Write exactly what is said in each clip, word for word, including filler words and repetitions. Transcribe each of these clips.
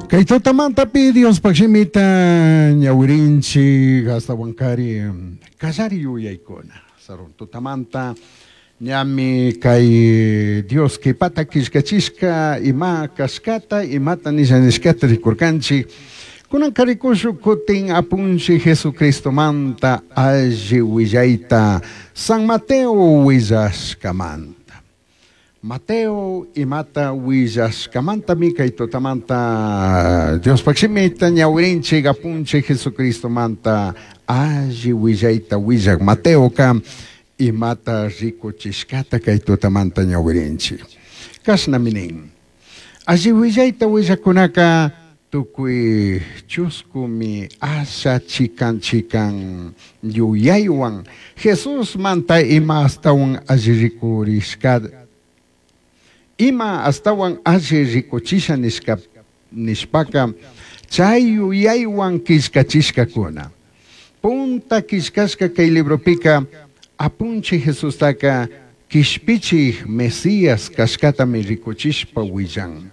Kay tutamantapi Diospaq shimita ñawirinchik astawankari kallari yuyaykuna. Sarun tutamanta ñami kay Dios kipata killkachishka ima kashkata imata nisha nishkata rikurkanchik. Kunanka rikushun kutin apunchik Jesucristomanta alli willayta San Mateo willashkamanta. Mateo imata willashkamantami kay tutamanta Diospaq shimita ñawirinchik apunchik Jesucristomanta alli willayta willak Mateoka imata rikuchishkata kay tutamanta ñawirinchik. Kashnami nin. Alli willayta willakunaka tukuy chuskumi asha chikan chikan yuyaywan Jesusmanta ima astawan alli rikurishka ima astawan alli rikuchisha nishka nishpaka chay yuyaywan killkachishkakuna. Punta killkashka kay libropika apunchik Jesustaka kishpichik Mesías kashkatami rikuchishpa willan.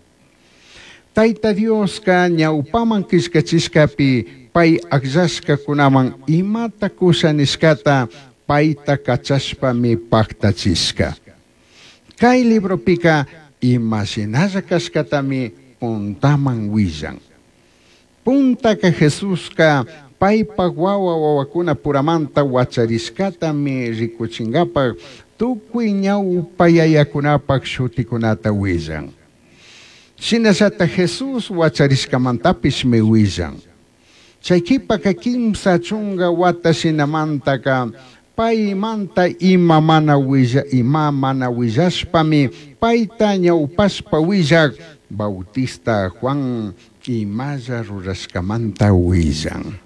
Tayta Dioska ñawpaman killkachishkapi pay akllashkakunaman imata kusha nishkata payta kachashpami paktachishka. Kay libropika imashinalla kashkatami puntaman willan. Puntaka Jesuska paypak wawa wawakuna puramanta wacharishkatami rikuchinkapak tukuy ñawpa yayakunapak shutikunata willan. Shinallata Jesús wacharishkamantapishmi willan. Chay kipaka kimsa chunka wata shinamantaka paymanta ima mana willa ima mana willashpami payta ñawpashpa willak Bautista Juan imalla rurashkamanta willan.